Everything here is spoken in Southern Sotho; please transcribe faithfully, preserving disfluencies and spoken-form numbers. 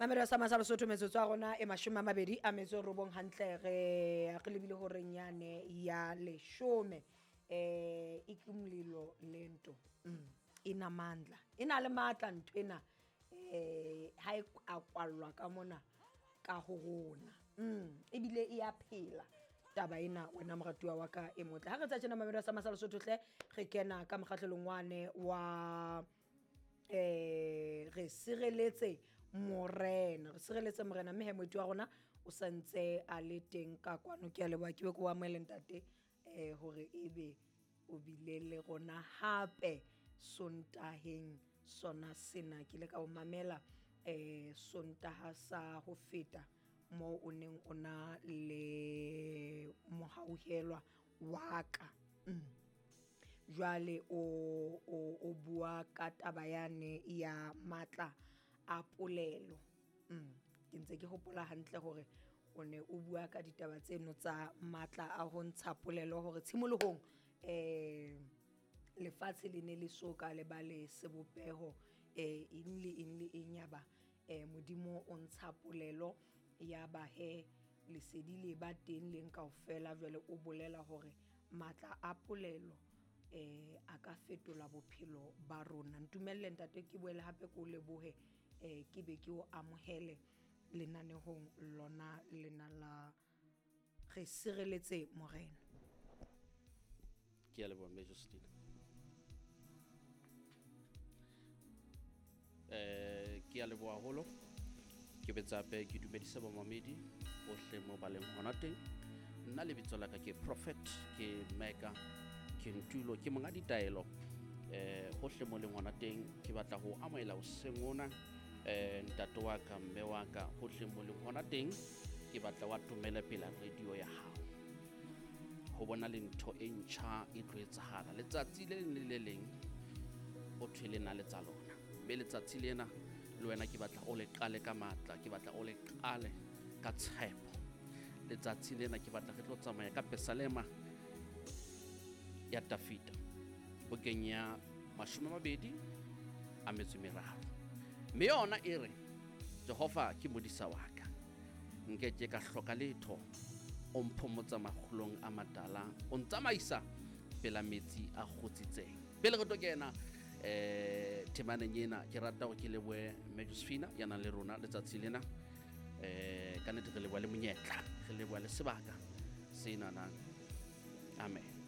Mamelo sa Masalo Sotho metsotso ya rona e mashome a mabedi a metso e robong hantle re re lebile horeng yane ya leshome. Eh ikumlilo lento mm inamandla ina le matla ntho ena eh ha e a kwallwa ka mona ka ho rona mm ebile e a phela taba ena wena moratuwa wa ka e motle. Ha re tsa tjena mamelo sa Masalo Sotho hle re kena ka mokgahlelong wane wa eh re sireletse morena, re sireletse morena mme he moeti wa rona o santse a le teng ka kwano. Ke a leboha, ke be ke o amohele ntate eh hore ebe o bile le rona hape Sontaheng sona sena. Ke ile ka o mamela eh Sontaha sa ho feta moo o neng o na le mohauhelwa wa ka. Mm. Jwale o o o bua ka taba yane ya matla a polelo. Mm. Ke ntse ke hopola hantle hore o ne o bua ka ditaba tseno tsa matla a ho ntsha polelo hore tshimolohong eh lefatshe le ne le so ka le ba le sebopeho eh eng le eng le eng ya ba eh Modimo o ntsha polelo ya ba he lesedi le ba teng leng kaofela. Jwale o bolela hore matla a polelo eh a ka fetola bophelo ba rona. Ntumelle ntate ke boele hape ke o lebohe eh ke be ke o amohele lenanehong lona lena la re sireletse morena. Ke a leboha mme Josephine. Eh ke a leboha haholo. Ke betsa hape ke dumedisa bamamedi bohle mo ba leng hona teng. Nna lebitso la ka ke Prophet, ke Meka, ke Ntulo, ke monga ditaelo. Eh hohle mo leng hona teng ke batla ho amohela hoseng hona eh ntate wa ka, mme wa ka, hohle mo leng hona teng ke batla wa tumele pela radio ya hao. Ho bona le ntho e ntjha e tlo etsahala letsatsi le leng le le leng, ho thwe le na le tsa lona. Mme letsatsi lena le wena ke batla o le qale ka matla, ke batla o le qale ka tshepo. Letsatsi lena ke batla re tlo tsamaya ka Pesalema ya Dafita bukeng ya mashome a mabedi a metso e meraro. Mme yona e re, Jehova ke modisa wa ka, nke ke ka hloka letho. O mphomotsa makgulong a matala, o ntsamaisa pela metsi a kgotsitseng. Pele re tlo kena eh temaneng ena, ke rata hore ke lebohe mme Josephine ya nang le rona letsatsi lena. Eh ka nnete re leboha le monyetla, re leboha le sebaka senana. Amen.